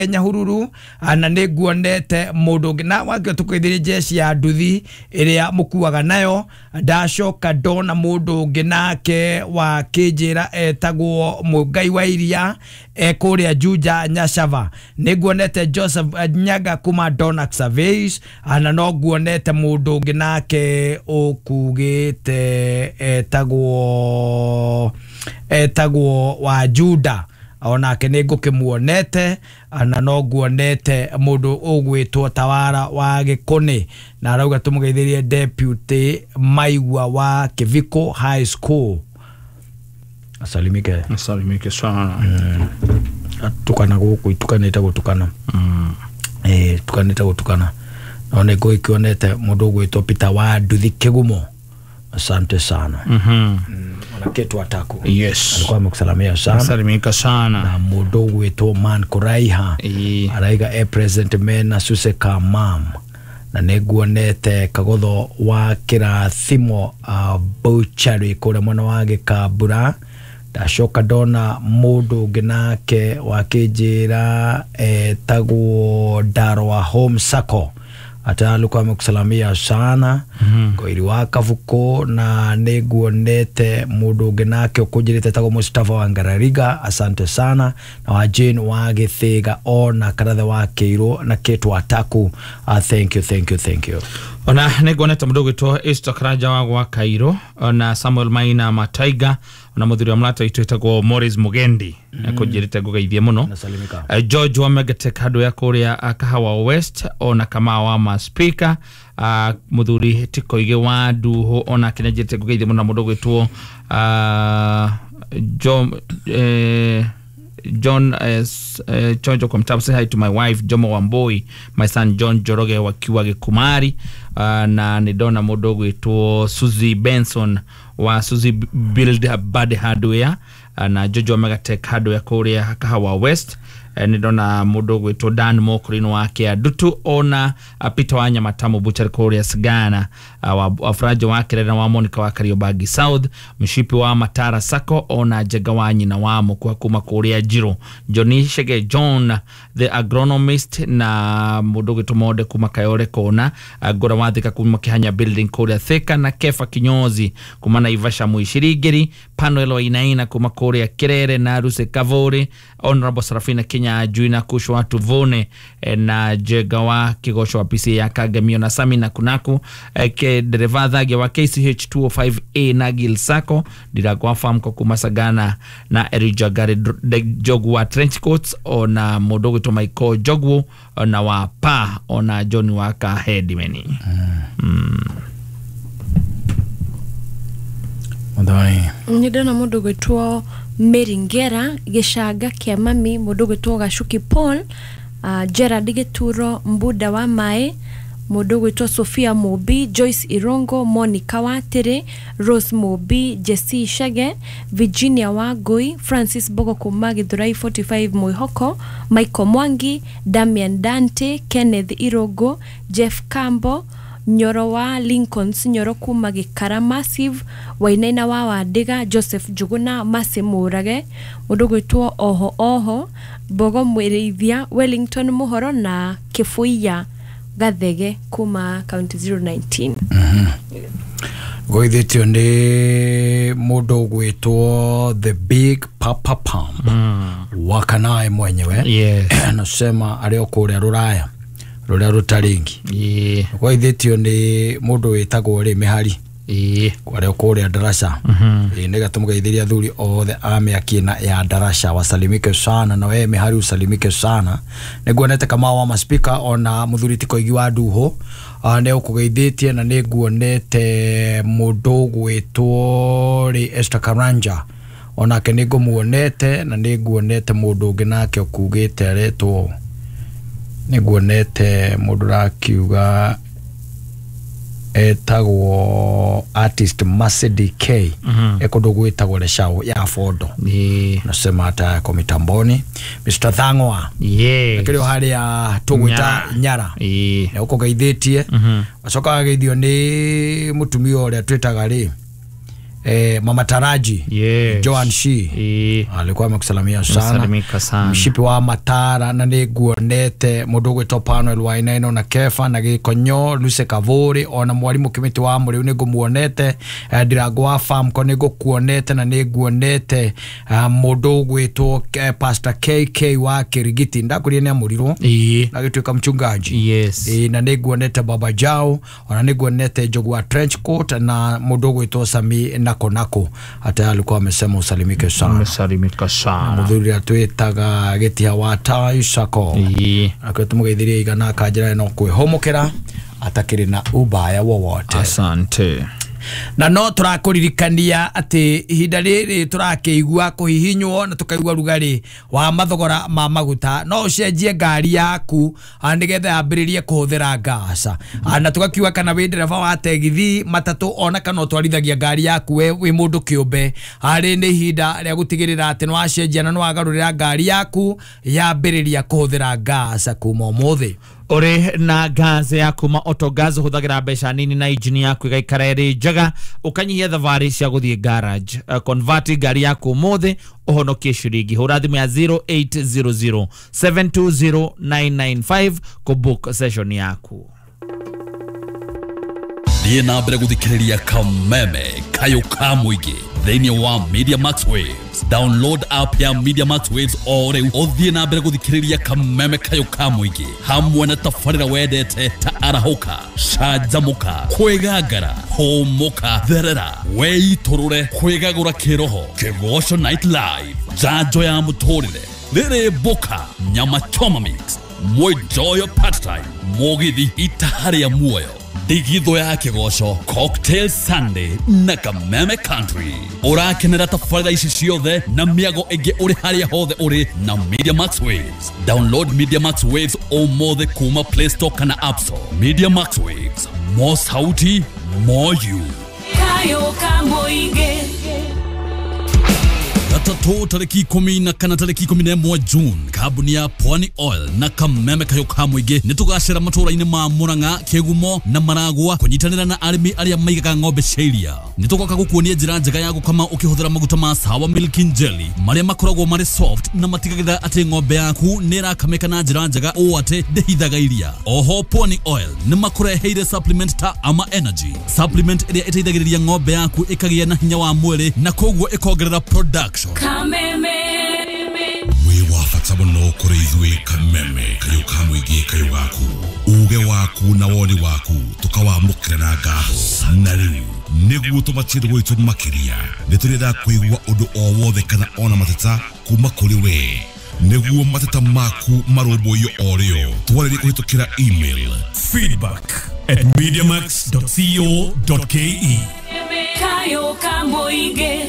Nyahururu na nĩ nguonete mũndũ ũngĩ na wakĩo tũkĩthĩrĩ jeshi ya nduthi ĩrĩa mũkuaga nayo. Ndacoka ndona mũndũ ũngĩ nake wa kĩnjĩra etagwo Mũngai wa Iria kũrĩa Juja Nyacava. Nĩ nguonete Joseph Nyaga kuma Donax Surveys, na no nguonete mũndũ ũngĩ nake ũkugĩte etagwo wa Juda, onake nĩ ngũkĩmuonete, na no nguonete mũndũ ũgwĩtwo Tawara wa Gĩkũnĩ na arauga tũmũgeithĩrie Deputy Maigua wa Kĩviko High School. Asalimike. Asalimike sana. Atukana gũkũ itukanĩte gũtukana. Tukanĩte gũtukana. No nĩ ngũgĩkĩonete mũndũ ũgwĩtwo Peter wa Nduthi Kĩgumo. Asante sana. Ona kitu ataku. Yes. Alikuwa amekusalamia sana. Asalimika sana. Na mũndũ ũgwĩtwo Man Kuraiha araiga e present mena Suse Kamam. Na nĩ nguonete Kagotho wa Kĩrathimo Butchery kũrĩa mwena wa Gĩkambura. Ndacoka ndona mũndũ ũngĩ nake wakĩnjĩra etagwo Darwa Home Sacco ata alikuwa amekusalamia sana. Ngoiri wa Kabuko na nĩ nguonete mũndũ ũngĩ nake ũkũnjĩrĩte etagwo Mustafa wa Ngarariga, asante sana, na wa Jane wa Gĩthĩga ona Karathe wa Kĩirũ na Kĩtwa Ataku. Thank you, thank you, thank you. Ona nĩ nguonete mũndũ ũgwĩtwo Esther Karanja wa gwa Kairũ, ona Samuel Maina Mataiga, ona mũthuri wa mũrata witũ wĩtagwo Morris Mugendi ekũnjĩrĩte ngũgeithie mũno. George wa Megatech handũ ya kũrĩa Kahawa West, ona Kamau wa Maspika, mũthuri Tikoige wa Nduhu, ona kĩnenjĩrĩte ngũgeithie mũno, na mũndũ ũgwĩtwo John Chonjo kwa mtabu, say hi to my wife Jomo Wamboi, my son John Joroge wakiwa Gĩkumari, na nĩ ndona mũndũ ũgwĩtwo Suzy Benson wa Suzy Build Bad Hardware, na Jojo Megatech handũ ya kũrĩa Kahawa West. Nĩ ndona mũndũ ũgwĩtwo Dan Mokorino wa Kĩandutu, ona Peter wa Nyamatamu Butcher kũrĩa Sigana, wa Frajo wa Kirera wa Monica wa Kariobangi South, Mshipi wa Matara Sacco, ona Njega wa nyina wa Mũkwa kuma kũrĩa Njirũ, Johnny Shege John the agronomist, na mũndũ ũgwĩtwo Monde kuma Kayore Kona, Ngũra wa Thika kuma Kĩhanya Building kũrĩa Thika, na Kefa Kinyozi kuma Naivasha Mwicirigiri, Panuel Wainaina kuma kũrĩa Kirere, na Ruse Kavuri, Honorable Sarafina Kenya Juina Kushwa Tuvone, na Jega wa Kigosho wa PC ya Kagemio, na Sami na Kunaku, ke dereva thage wa KCH 205A na Gil Sacco Ndiragwa Farm kwa kuma Sagana, na Erija Gary Jogu wa Trench Coats, ona mũndũ ũgwĩtwo Michael Jogu, ona wa Pa, ona John wa Kahedimeni. Nĩ ndona mũndũ ũgwĩtwo Mary Ngera Gĩcanga kĩa mami, mũndũ ũgwĩtwo Gacuki Paul, Gerard Gĩturo Mbuda wa Maĩ, mũndũ ũgwĩtwo Sophia Mũmbi, Joyce Irongo, Monica Watĩrĩ, Rose Mũmbi, Jesse Shege, Virginia Wangui, Francis Bogo kuma Gĩthurai 45 Mwĩhoko, Michael Mwangi, Damian Dante, Kenneth Irongo, Jeff Kambo, Nyoro wa Lincolns Nyoro kuma Gĩkara Massive, Wainaina wa Wandiga, Joseph Njuguna, Mercy Mũrage, mũndũ ũgwĩtwo Oho Oho, Mbogo Mwĩrĩithia, Wellington Mũhoro na Kĩbũiya Gathege kuma County 019. Goithĩtio nĩ mũndũ ũgwĩtwo The Big Papa Pump Wakanae mwenyewe. Yes. Anasema arĩ o kũrĩa rũraya rũrĩa rũtarĩngi. Goithĩtio nĩ mũndũ wĩtagwo rĩ Mĩhari arĩ o kũrĩa Darasha. Nĩgetha tũmũgeithĩrie athuri othe a mĩaki ya Darasha, wasalimike sana, na we Mĩhari usalimike sana. Nĩ nguonete Kamau wa Maspika, ona mũthuri Tikoigi wa Nduhu nĩ ũkũgeithĩtie, na nĩ nguonete mũndũ ũgwĩtwo rĩ Esther Karanja, onake nĩ ngũmuonete, na nĩ nguonete mũndũ ũngĩ nake ũkugĩte aretwo, nĩ nguonete mũndũ ũrakiuga etagwo artist Mercedes K ekũndũ gwĩtagwo Leshau ya Fondo. Nasema hata yako mitamboni Mr. Thang'wa. Yes. Kĩrĩ harĩa tũgwĩta Nyara. Nĩ ũkũgeithĩtie. Wacoka wageithio nĩ mũtumia ũrĩa twĩtaga rĩ Mama Taraji. Yes. Joan Shi. Alikuwa amekusalimia sana. Mshipi wa Matara na nĩ nguonete mũndũ ũgwĩtwo Panuel Wainaina na Kefa na Gĩkonyo Luce Kavuri ona mwarimu Kimiti wa Mũrĩu nĩ ngũmuonete, Ndirango wa Famco nĩ ngũkuonete na nĩ nguonete mũndũ ũgwĩtwo Pastor KK wa Kirigiti ndakurie nĩ amũrirwo na gĩtuĩka mchungaji. Yes. Na nĩ nguonete Baba Jao ona nĩ nguonete Njogu wa Trench Coat na mũndũ ũgwĩtwo Sami Nako Nako hata alikuwa amesema usalimike sana. Umesalimika sana. Muthuri atwitaga Gĩtiha wa Tai Sako. Akĩo tũmũgeithirie igana akanjĩra no kwĩhũmũkĩra atakĩrĩ na ubaya wowote. Asante. Na no tũrakũririkania atĩ ihinda rĩrĩ tũrakĩigua kũhihinywo na tũkaigua rugarĩ wa mathogora ma maguta, no ũcenjie ngari yaku nĩgetha yambĩrĩrie kũhũthĩra ngasa, na tũgakiuga kana wĩ ndereba wa tegithi matatũ ona kana ũtwarithagia ngari yaku we wĩ mũndũ kĩũmbe, harĩ nĩ ihinda rĩa gũtigĩrĩra atĩ nĩ wacenjia na nĩ wagarũrĩra ngari yaku yambĩrĩria kũhũthĩra ngasa kuma ũmũthĩ. Uri na gas ya kuma Autogas huthagira mbeca nini na injini yaku igaikara ĩrĩ njega, ukanyihia thabarĩ cia gũthiĩ garage. Convert ngari yaku ũmũthĩ ũhonokie ciringi. Hũra thimũ ya 0800 720 995 kũbook session yaku. Thiĩ na mbere gũthikĩrĩria Kameme Kayũ ka Mũingĩ thĩinĩ wa Media Max Waves. Download app ya Media Max Waves o rĩu ũthiĩ na mbere gũthikĩrĩria Kameme Kayũ ka Mũingĩ hamwe na tabarĩra wendete ta arahũka, canjamũka, kwĩgangara, hũmũka, therera, weitũrũre, kwĩgagũra kĩroho, Kĩgoco Night Live, njanjo ya mũtũrĩre, rĩrĩ mboka, nyama choma mix, mwenjoyo part time, mũgithi itaha rĩa muoyo, ndigitho ya Kĩgoco, Cocktail Sunday na Kameme Country. Ũrakenera tabarĩra ici ciothe na mĩago ĩngĩ ũrĩ harĩa hothe ũrĩ na Media Max Waves. Download Media Max Waves ũmũthĩ kuma Play Store kana App Store. Media Max Waves, more sauti, more you. Kayũ ka Mũingĩ. Gatatũ tarĩki 14 tarĩki 11 June, kambuni ya Pwani Oil na Kameme Kayũ ka Mũingĩ nĩ tũgacera matũũra-inĩ ma Murang'a, Kĩgumo na Maragua kũnyitanĩra na arĩmi arĩa maigaga ng'ombe cia iria. Nĩ tũgoka gũkuonia njĩra njega ya gũkama ũkĩhũthĩra maguta ma Sawa Milk and Jelly marĩa makoragwo marĩ soft na matigagĩrĩra atĩ ng'ombe yaku nĩ ĩrakamĩka na njĩra njega ũũ atĩ ndĩhithaga iria. Oho Pwani Oil nĩ makũreheire supplement ta Ama Energy, supplement ĩrĩa ĩteithagĩrĩria ng'ombe yaku ĩkagĩa na hinya wa mwĩrĩ na koguo ĩkongerera production. Kameme wĩ wa bata mũno kũrĩ ithuĩ Kameme Kayũ ka Mũingĩ kayũ gaku, uge waku na woni waku tũkawamũkĩra na ngatho. Na rĩu nĩguo tũmatie gwitũ makĩria nĩ tũrenda kũigua ũndũ o wothe kana ona mateta kuma kũrĩ we, nĩguo mateta maku marũmbũiyo o rĩo. Twarĩrie kũhĩtũkĩra email feedback@mediamax.co.ke. Kayũ ka Mũingĩ.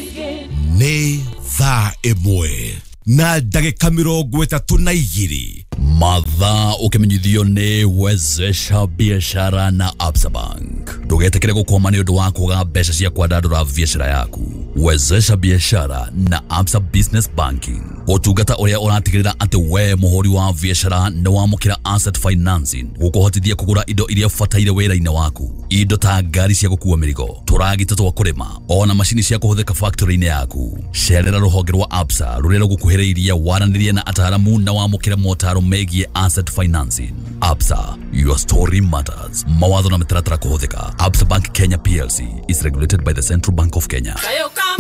Nĩ thaa 1 na ndagĩka 32. Mathaa ũkĩmenyithio nĩ Wezesha Biashara na Absa Bank. Ndũgetĩkĩre gũkwama nĩ ũndũ wa kwaga mbeca cia kwandandũra biashara yaku. Wezesha Biashara na Absa Business Banking, ũtungata ũrĩa ũratigĩrĩra atĩ we mũhũri wa biashara nĩ wamũkĩra asset financing gũkũhotithia kũgũra indo iria ũbataire wĩra-inĩ waku, indo ta ngari cia gũkua mĩrigo, tũragita twa kũrĩma ona macini cia kũhũthĩka factory-inĩ yaku. Cerera rũhonge rwa Absa rũrĩa rũgũkuhĩrĩirie, waranĩrie na ataaramu na wamũkĩre motaro megiĩ asset financing. Absa, your story matters. Mawatho na mĩtaratara kũhũthĩka. Absa Bank Kenya PLC is regulated by the Central Bank of Kenya. Kayũ ka